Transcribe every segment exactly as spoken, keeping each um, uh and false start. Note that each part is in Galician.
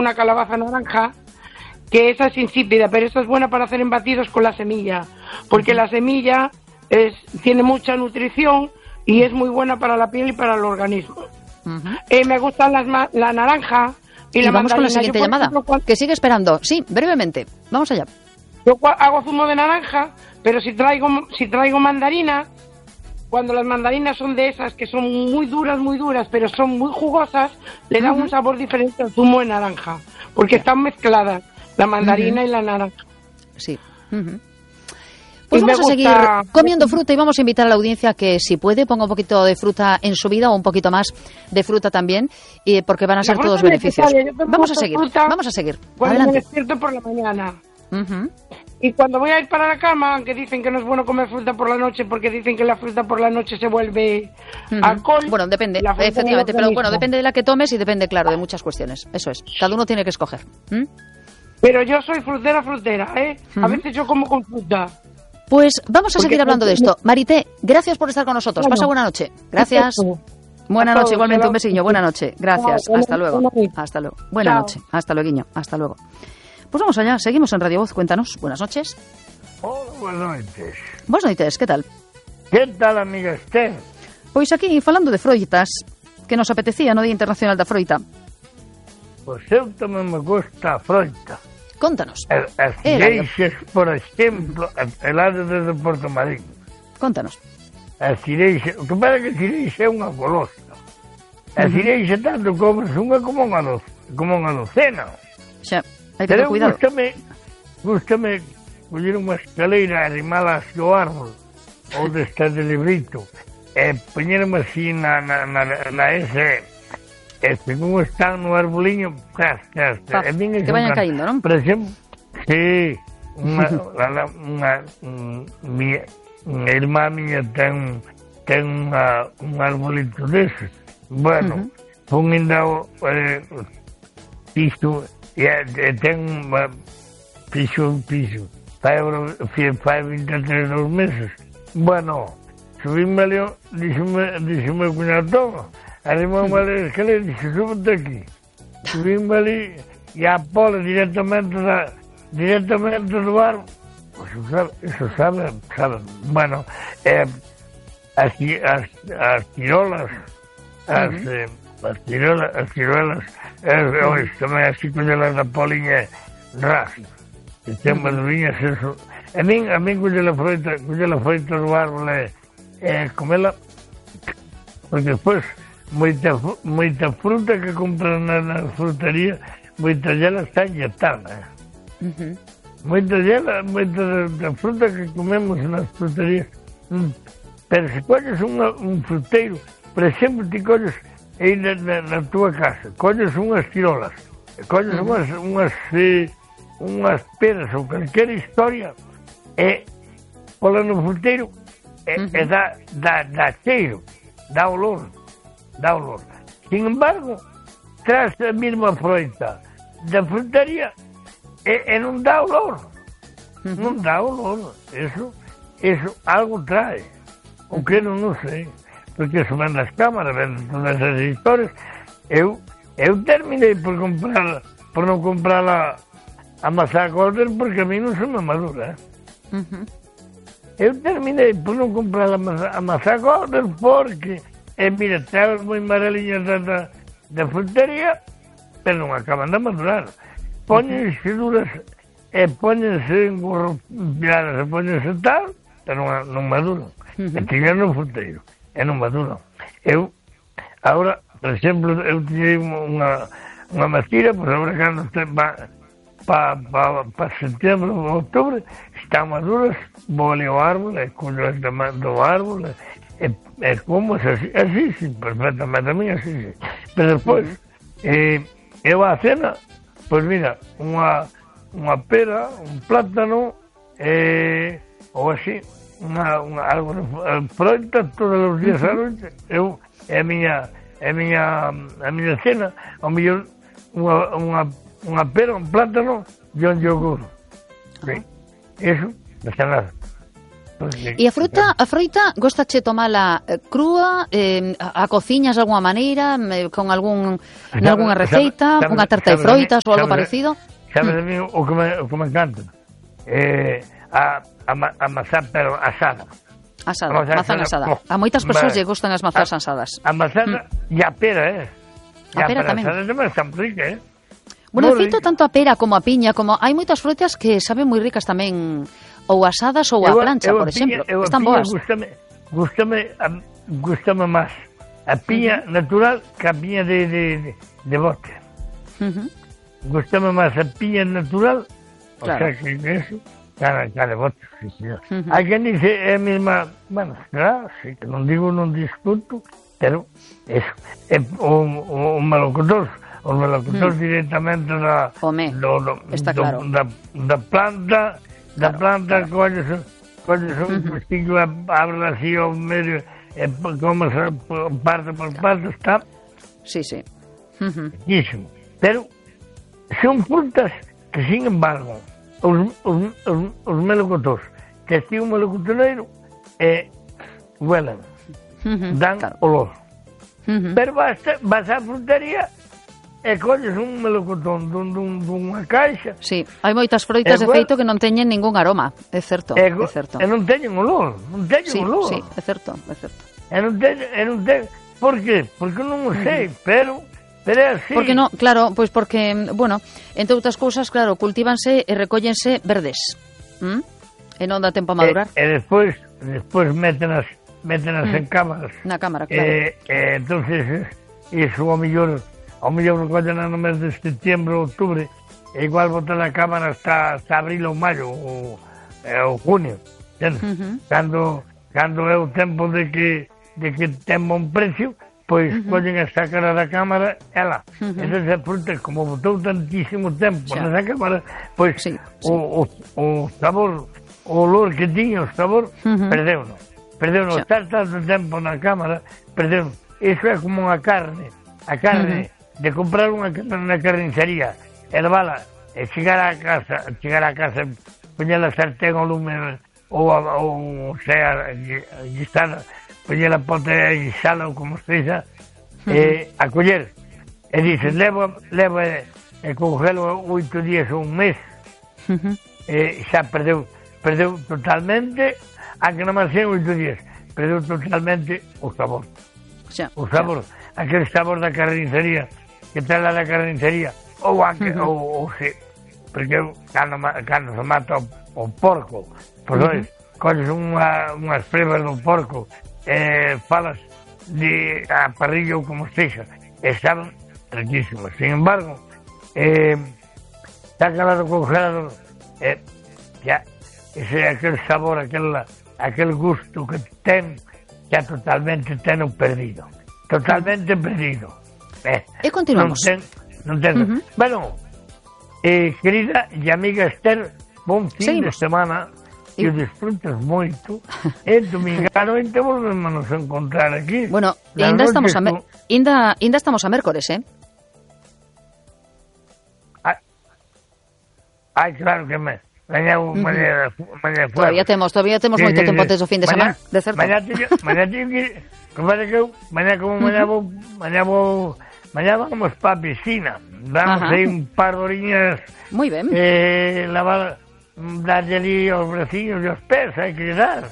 una calabaza naranja, que esa es insípida, pero esa es buena para hacer embatidos con la semilla, porque uh-huh. la semilla es, tiene mucha nutrición y es muy buena para la piel y para el organismo. Uh-huh. Eh, me gustan las ma- la naranja y, y la vamos mandarina. con la siguiente Yo, llamada, ejemplo, cuando... que sigue esperando. Sí, brevemente, vamos allá. Yo hago zumo de naranja, pero si traigo si traigo mandarina, cuando las mandarinas son de esas que son muy duras, muy duras, pero son muy jugosas, le dan uh-huh. un sabor diferente al zumo de naranja, porque están mezcladas la mandarina uh-huh. y la naranja. Sí. Uh-huh. Pues y vamos a seguir comiendo fruta y vamos a invitar a la audiencia que, si puede, ponga un poquito de fruta en su vida o un poquito más de fruta también, y porque van a ser todos beneficios. Vamos a seguir, vamos a seguir. Cuando Adelante. me despierto por la mañana. Uh-huh. Y cuando voy a ir para la cama, aunque dicen que no es bueno comer fruta por la noche, porque dicen que la fruta por la noche se vuelve uh-huh. alcohol. Bueno, depende, efectivamente, pero bueno, depende de la que tomes y depende, claro, de muchas cuestiones. Eso es, cada uno tiene que escoger. ¿Mm? Pero yo soy frutera, frutera, ¿eh? Uh-huh. A veces yo como con fruta. Pues vamos a porque seguir hablando de esto. Marité, gracias por estar con nosotros. Bueno, pasa buena noche. Gracias. Buena noche, igualmente un besillo. Buena noche. Gracias. Hasta luego. Hasta luego. Buena noche. Hasta luego. Hasta luego. Pues vamos allá, seguimos en Radio Voz, cuéntanos. Buenas noches. Hola, buenas noches. Buenas noches, que tal? Que tal, amiga Esther? Pois aquí, falando de froitas, que nos apetecía no Día Internacional da Froita. Pois eu tamén me gusta a froita. Contanos. As, as cireixas, por exemplo, el lado desde Porto Marín. Contanos. As cireixas, o que pasa que a cireixa é unha golosa. A cireixa tanto comes unha como unha doce, como unha docena. Xa. Hai que ter cuidado. Gústame, gústame coller unha escaleira, arrimalas ao árbol, ou destas de librito, e poñerme así na, na, na, na ese, este, como están no arboliño, tras, tras, pa, e min que vayan caindo, non? Por exemplo, sí, unha, unha, unha, unha, unha irmá miña ten, ten unha, un arbolito deses, bueno, uh-huh. pon ainda o eh, piso, e yeah, ten unha piso un piso fai, fai vinte e tres dos meses. Bueno, subíme ali, díxeme, díxeme o cuñado, toma, arrimamos ali a escalera e dixe, súbete aquí. Subíme ali e a pola directamente da, directamente do árbol. Pues eso sabe, eso sabe, sabe. Bueno, eh, as, as, as tirolas, as... Uh-huh. eh, as tirolas, as tirolas, eh, hoxe tamén así collelas da poliña ras, que ten maduriñas, eso. A min, a min colle la froita, colle la froita do árbol e eh, comela, porque despois moita, moita fruta que compran na, na frutería, moita dela está enllatada. Uh-huh. Moita dela, moita da fruta que comemos nas fruterías. Mm. Pero se colles unha, un fruteiro, por exemplo, ti colles aí na, na, na tua casa, colles unhas tirolas, colles uh-huh. unhas, unhas, eh, unhas peras ou calquera historia, e pola no fruteiro, e, uh-huh. e dá, dá, dá cheiro, dá olor, dá olor. Sin embargo, traz a mesma froita da frutaría e, e non dá olor, uh-huh. non dá olor, eso, eso algo trae, o que non, non sei. Porque eso ven nas cámaras, ven todas esas historias. Eu, eu terminei por comprar, por non comprar a, a maçã Golden, porque a mí non se me madura. Eh? Uh-huh. Eu terminei por non comprar a maçã, a maçã Golden porque, eh, mira, traes moi mareliñas da, da, da frutería, pero non acaban de madurar. Póñense uh-huh. duras, e póñense en gorro piladas, e póñense tal, pero non, non maduran. Uh-huh. E tiñan no fruteiro. E non maduran. Eu, agora, por exemplo, eu tiñei unha, unha macira, pois agora cando va para pa, pa setembro ou outubro, están maduras, vou ali ao árbol, e collo as do árbol, e, e como así, así, sí, perfectamente, a mí así, sí. Pero despois, eh, eu a cena, pois mira, unha, unha pera, un plátano, eh, ou así, Unha, unha, algo de froita todos os días uh-huh. a noite. Eu, é a miña, é a miña, a miña cena, ao mellor unha, unha, unha pera, un plátano e un yogur. Uh-huh. Sí. Eso, de cenar. E a fruta, a froita, gostache tomala eh, crúa, eh, a, a cociñas de alguna maneira, eh, con algún en algunha receita, sabe, unha tarta de froitas ou algo parecido? Sabes mm. a mí o que me, o que me encanta? Eh, a, a, a mazá, pero asada. Asada, a mazán asada. Oh, a moitas persoas lle gustan as mazás asadas. A mazada mm. e a pera, eh? E a pera tamén. A asada tamén están rica, eh? Bueno, de feito, tanto a pera como a piña, como hai moitas frutas que saben moi ricas tamén, ou asadas ou a plancha, por exemplo. Eu, Están piña, boas. Gústame, gústame, gústame máis a piña uh-huh. natural que a piña de, de, de, de bote. Uh-huh. Gústame máis a piña natural, o claro. sea, que eso, cara, cara de bote. Sí, sí. Uh-huh. Hai quen dice, é a mesma, bueno, claro, sí, que non digo, non discuto, pero eso, é un, un melocotor. Os melocotores hmm. directamente da, do, do, está do, claro. da, da planta, da claro, planta, claro. colles, colles un pestillo, uh-huh. abre así ao medio, e como se parte por parte, está... Sí, sí. Uh-huh. Pero son frutas que, sin embargo, os, os, os, os melocotores, que estive un melocotoneiro, eh, huelen, uh-huh. dan claro. olor. Uh-huh. Pero vas, vas á frutería... e colles un melocotón dun, dun, dunha caixa. Sí, hai moitas froitas de feito que non teñen ningún aroma, é certo, é certo. E non teñen olor, non teñen sí, olor. Sí, é certo, é certo. E non teñen, e non teñen, por qué? Porque non o sei, uh-huh. pero, pero é así. Porque non, claro, pois porque, bueno, entre outras cousas, claro, cultívanse e recóllense verdes, ¿Mm? e non dá tempo a madurar. E, e despois, despois métenas, métenas mm. en cámaras. Na cámara, claro. E, e entonces, iso ao mellor... ao mellor recollen no mes de setembro, outubro, e igual botar na cámara hasta, hasta abril ou maio, ou, ou junio, uh-huh. cando, cando é o tempo de que, de que ten bon precio, pois uh-huh. collen a sacar da cámara, ela. Uh-huh. Entón, a fruta, como botou tantísimo tempo xa. nesa cámara, pois sí, sí. O, o, o sabor, o olor que tiña, o sabor, uh-huh. perdeu-no. Perdeu-no. Estar tanto tempo na cámara, perdeu-no. Iso é como unha carne. A carne... Uh-huh. de comprar unha na carnicería, hervala, e chegar a casa, chegar a casa, poñer a sartén ao lume, ou, ou sea, guisada, poñer a pote a guisada, ou como seja, uh-huh. e a coller. E dices, levo, levo e, e congelo oito días ou un mes, uh-huh. e xa perdeu, perdeu totalmente, aunque non máis sean oito días, perdeu totalmente o sabor. Xa, o sabor, xa. Aquel sabor da carnicería, que ten la da carnicería, ou, a, uh-huh. ou, ou se, porque cando, cando se mata o, o porco, pois uh-huh. colles unha, unhas prebas do porco, e falas de a parrilla ou como sexa, e saben riquísimas. Sin embargo, eh, sácala do congelador, e xa, ese aquel sabor, aquel, aquel gusto que ten, xa totalmente ten o perdido. Totalmente perdido. Eh, e continuamos. Non ten, non ten. Uh-huh. Bueno, eh, querida e amiga Esther, bon fin Seguimos. de semana, que o disfrutes moito, e domingano e te volvemos a encontrar aquí. Bueno, ainda estamos a me... ainda, ainda estamos a mércores, eh? Ai, ai claro que me... Mañá, uh-huh. mañá, mañá todavía temos, todavía temos sí, moito sí, tempo antes do fin de semana, de certo. Mañá teño, mañá teño que, como que eu, mañá como mañá vou, mañá vou, mañá vamos pa piscina, vamos aí un par de horiñas. Moi ben. Eh, lavar, darlle ali aos vecinos e aos pés, hai que dar.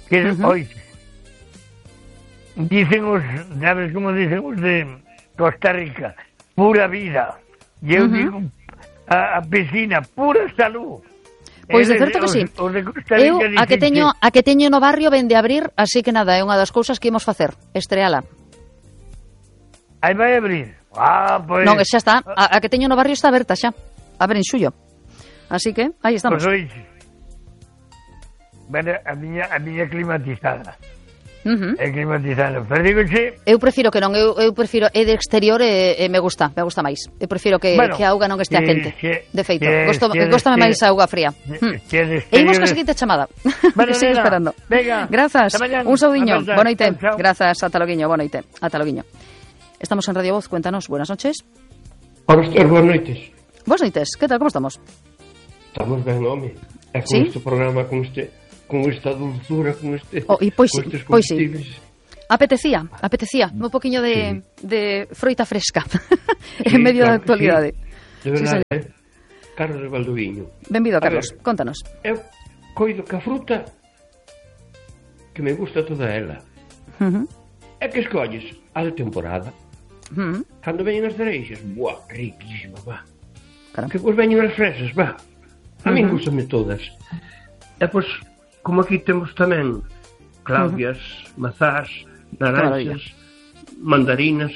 Que uh-huh. Oi, dicen os, sabes como dicen os de Costa Rica, pura vida. E eu uh-huh. digo, a, a piscina, pura salud. Pois de certo que sí. Eu a que teño a que teño no barrio vende a abrir, así que nada, é unha das cousas que imos facer, estreala. Aí vai abrir. Ah, pois. Non, xa está, a, a que teño no barrio está aberta xa. Abre en xullo. Así que aí estamos. Pois oixe. Bueno, a miña a miña climatizada. Uh-huh. É climatizada. Pero digo, che... Eu prefiro que non, eu, eu prefiro é de exterior e, e me gusta, me gusta máis. Eu prefiro que, bueno, que a auga non estea quente. Que, de feito, que, gosto, que gostame máis a auga fría. Hmm. E imos ca seguinte chamada. Bueno, que sigo esperando. Venga. Grazas. Un saudiño. Boa noite. Grazas, ata loguiño. Boa noite. Ata loguiño. Estamos en Radio Voz, cuéntanos. Buenas noches. Hola, boas noites. Boas noites. Que tal, como estamos? Estamos ben, home. E con ¿Sí? este programa, con este con esta dulzura, con este oh, e pois, con estes pois sí. Apetecía, apetecía un poquinho de, sí. de froita fresca sí, en medio claro, da actualidade. Sí. De verdade, sí, eh? Carlos Valdoviño. Benvido, Carlos, ver, contanos. Eu coido que a fruta que me gusta toda ela. Uh-huh. É que escolles a de temporada. Uh-huh. Cando veñen as cereixas, buah, riquísima, va. Claro. Que pois veñen as fresas, va. A min uh-huh. gustame todas. E pois, como aquí temos tamén claudias, uh-huh. mazás, naranxas, mandarinas,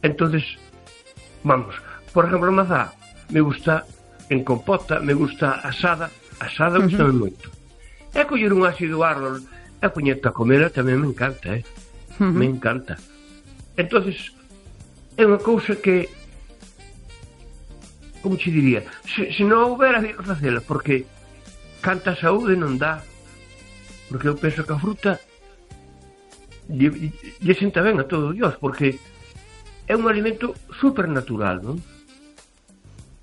entonces, vamos, por exemplo, a mazá me gusta en compota, me gusta asada, asada uh-huh. gustame moito. E coller un ácido árbol e poñeta a comera tamén me encanta, eh? Uh-huh. Me encanta. Entonces, é unha cousa que, como che diría, se, se non houbera que facela, porque canta saúde non dá, porque eu penso que a fruta lle, lle senta ben a todo Dios, porque é un alimento supernatural, non?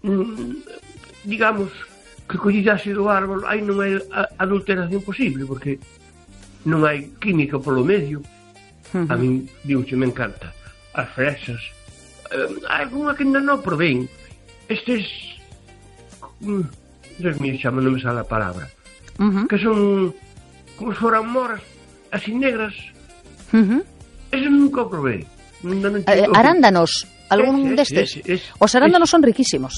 Mm, digamos que collidase do árbol aí non hai adulteración posible, porque non hai química polo medio. Uh-huh. A min, digo, me encanta as fresas, uh, hai alguna que ainda non provén, estes mm, Dios mío, chama, non me sale a palabra, uh-huh. que son como se foran moras así negras. Uh-huh. Eso nunca o probé. Non, non eh, arándanos, algún ese, destes ese, ese, os arándanos ese. son riquísimos,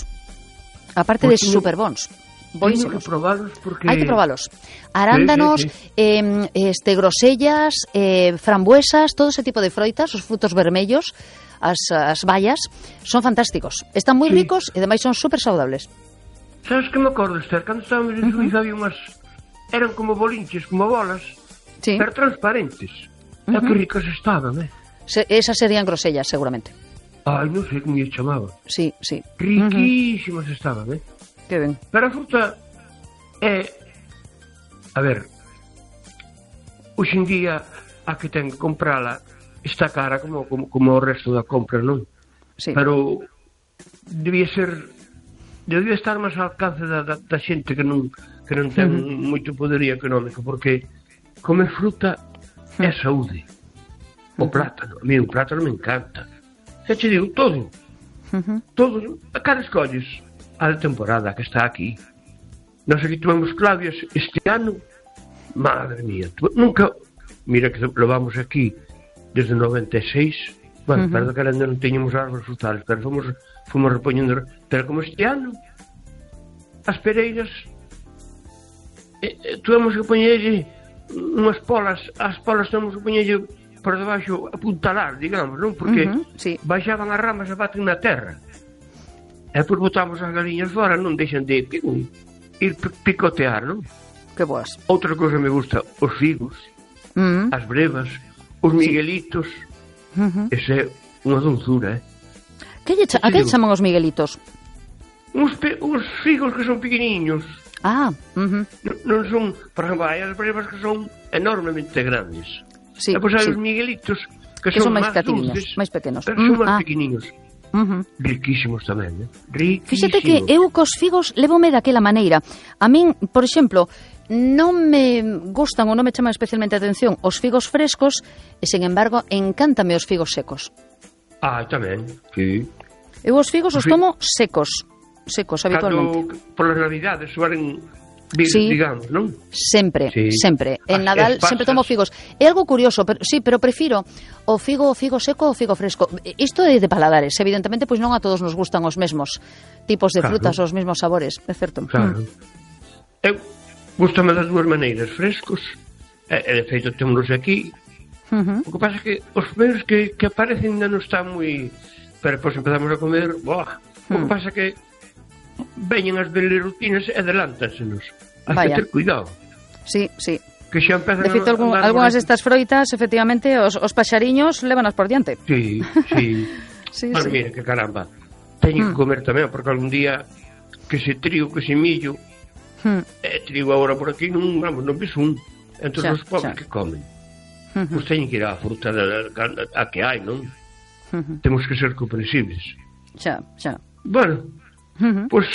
aparte pues de super bons. Teño que probalos porque... Hai que probalos. Arándanos, sí, sí, sí. Eh, este, grosellas, eh, frambuesas, todo ese tipo de froitas, os frutos vermellos, as, as bayas, son fantásticos. Están moi sí. ricos e ademais son super saudables. Sabes que me acordo, Esther? Cando estábamos en Suiza uh-huh. había unhas... Eran como bolinches, como bolas, sí. pero transparentes. Uh-huh. E que ricas estaban, eh? Se, esas serían grosellas, seguramente. Ai, non sei como lle chamaba. Sí, sí. Riquísimas uh-huh. estaban, eh? Que ben. Pero a fruta é... A ver, hoxe en día a que ten que comprala está cara como, como, como o resto da compra, non? Sí. Pero debía ser... Debía estar máis ao alcance da, da, da xente que non, que non ten uh-huh. moito poderío económico, porque comer fruta uh-huh. é saúde. O uh-huh. plátano, a mí o plátano me encanta. Xa che digo, todo. Uh-huh. Todo. A cara escolles a temporada que está aquí. Nós aquí tomamos claudias este ano, madre mía, nunca, mira que lo vamos aquí desde noventa e seis, bueno, uh-huh. perdón que ainda non teñamos árboles frutales, pero fomos, fomos repoñendo, pero como este ano as pereiras eh, eh, tuvemos que poñerlle unhas polas, as polas tuvemos que poñerlle por debaixo apuntalar, digamos, non? Porque uh-huh, sí. baixaban as ramas e baten na terra. E por botamos as galiñas fora, non deixan de um, ir picotear, non? Que boas. Outra cousa me gusta, os figos, uh-huh. as brevas, os miguelitos. Uh-huh. Ese é unha dulzura, eh? Que lle cha- a que chaman os miguelitos? Uns, pe- uns figos que son pequeniños. Ah, uh-huh. non, non son, por exemplo, hai as brevas que son enormemente grandes. Sí, e pois hai sí. os miguelitos que, que son, son máis máis pequeninos, dulces, máis pequenos. pero son mm, máis ah. pequeninos. Uh-huh. Riquísimos tamén, eh? Riquísimos. Fíxate que eu cos figos levome daquela maneira. A min, por exemplo, non me gustan ou non me chaman especialmente a atención os figos frescos e, sen embargo, encántame os figos secos. Ah, tamén, sí. Eu os figos os tomo secos, secos habitualmente. Cando, polas navidades, suaren vir, sí, digamos, non? Sempre, sí. sempre. En As Nadal espasas. sempre tomo figos. É algo curioso, pero sí, pero prefiro o figo o figo seco ou o figo fresco. Isto é de paladares, evidentemente, pois non a todos nos gustan os mesmos tipos de claro. frutas, os mesmos sabores, é certo. Claro. Mm. Eu gustame das dúas maneiras, frescos, e, e de feito temos aquí. Uh-huh. O que pasa é que os primeiros que, que aparecen ainda non están moi... Pero depois empezamos a comer, boa. O que Hmm. pasa é que veñen as belerutinas e adelántansenos. Has Vaya. que ter cuidado. Sí, sí. Que xa empezan De feito, a algún, andar algunhas por... destas froitas, efectivamente, os, os paxariños levanas por diante. Sí, sí. Sí, Bueno, sí. mira, que caramba. Teño Hmm. que comer tamén, porque algún día que se trigo, que se millo, Hmm. e trigo agora por aquí, non, vamos, non ves un. Entón, Xa, os pobres xa. que comen. Uh-huh. Pois teñen que ir á fruta da, da, a que hai, non? Uh-huh. Temos que ser comprensibles. Xa, xa. Bueno, Uh-huh. pois...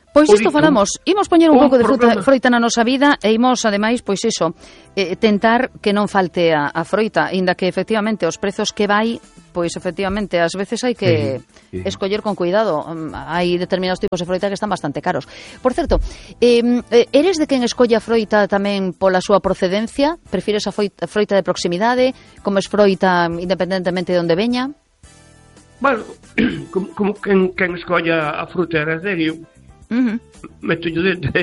Pois isto falamos, imos poñer un pouco de fruta, programa. froita na nosa vida e imos, ademais, pois iso, eh, tentar que non falte a, a froita, inda que efectivamente os prezos que vai, pois efectivamente, ás veces hai que sí, sí. escoller con cuidado. Um, hai determinados tipos de froita que están bastante caros. Por certo, eh, eres de quen escolle a froita tamén pola súa procedencia? Prefires a froita, froita de proximidade? Comes froita independentemente de onde veña? Bueno, como, como quen, quen escolla a fruta era serio, Uh-huh. meto yo dentro,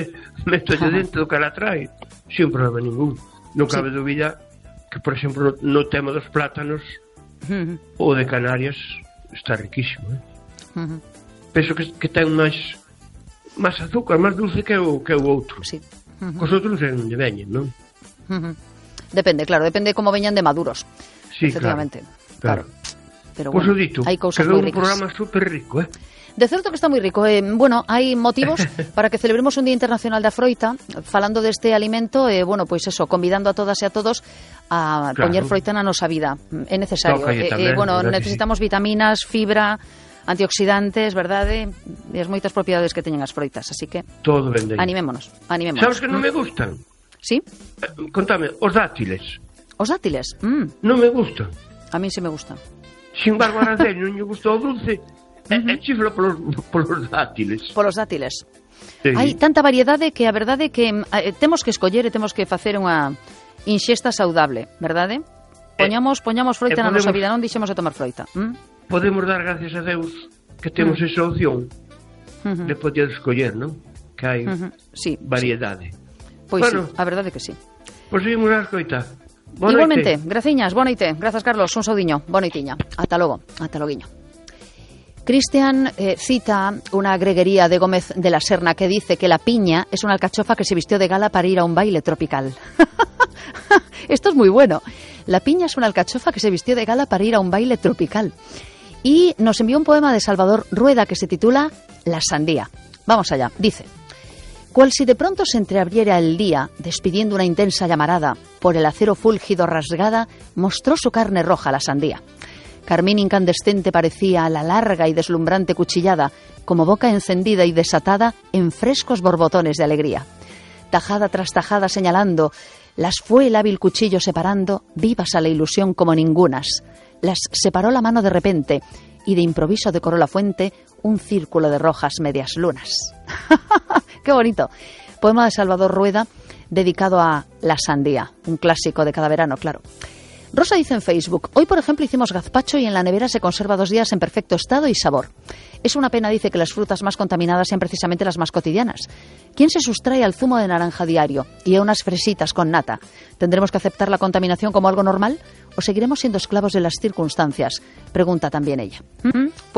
meto yo dentro do que ela trae, sin problema ningún. Non cabe Sí. dúbida que, por exemplo, no, no tema dos plátanos, Uh-huh. o de Canarias está riquísimo, eh? Uh-huh. Penso que, que ten máis máis azúcar, máis dulce que o, que o outro. Sí. Uh-huh. Cos outros é onde veñen, non? Uh-huh. Depende, claro, depende como veñan de maduros. Sí, Efectivamente, claro. claro. Pero Pois bueno, o dito, hai cousas quedou moi un ricas. programa super rico, eh? De certo que está moi rico. Eh, bueno, hai motivos para que celebremos un Día Internacional da Froita, falando deste alimento, e, eh, bueno, pois eso, convidando a todas e a todos a Claro. poñer froita na nosa vida. É necesario. Toca aí Eh, eh, tamén, bueno, verdade, necesitamos vitaminas, fibra, antioxidantes, verdade? E as moitas propiedades que teñen as froitas, así que Todo vende. animémonos, animémonos. Sabes que non me gustan? Sí? Eh, Contame, os dátiles. Os dátiles. Mm, Non me gustan. a mí sí me gustan. Sin embargo, a Araceli non lle gustou o dulce. E uh -huh. chifla polos, polos dátiles. Polos dátiles. Sí. Hai tanta variedade que a verdade é que eh, temos que escoller e temos que facer unha inxesta saudable, verdade? Poñamos, poñamos froita eh, na nosa podemos- vida, non deixemos de tomar froita. ¿Mm? Podemos dar gracias a Deus que temos esa opción Uh-huh. de poder escoller, non? Que hai Uh-huh. Sí, variedade. pois Bueno. sí, a verdade que sí. Pois seguimos a escoita. Boa Igualmente, noite. graciñas, boa noite. Grazas, Carlos, un saudiño, boa noitiña. Ata logo, ata loguiño. Cristian eh, cita una greguería de Gómez de la Serna que dice que la piña es una alcachofa que se vistió de gala para ir a un baile tropical. Esto es muy bueno. La piña es una alcachofa que se vistió de gala para ir a un baile tropical. Y nos envió un poema de Salvador Rueda que se titula La sandía. Vamos allá. Dice: cual si de pronto se entreabriera el día, despidiendo una intensa llamarada, por el acero fúlgido rasgada, mostró su carne roja la sandía. Carmín incandescente parecía la larga y deslumbrante cuchillada, como boca encendida y desatada en frescos borbotones de alegría. Tajada tras tajada señalando, las fue el hábil cuchillo separando, vivas a la ilusión como ningunas. Las separó la mano de repente, y de improviso decoró la fuente un círculo de rojas medias lunas. ¡Qué bonito! Poema de Salvador Rueda dedicado a la sandía, un clásico de cada verano, claro. Rosa dice en Facebook: hoy, por ejemplo, hicimos gazpacho y en la nevera se conserva dos días en perfecto estado y sabor. Es una pena, dice, que las frutas más contaminadas sean precisamente las más cotidianas. ¿Quién se sustrae al zumo de naranja diario y a unas fresitas con nata? ¿Tendremos que aceptar la contaminación como algo normal o seguiremos siendo esclavos de las circunstancias? Pregunta también ella. ¿Mm?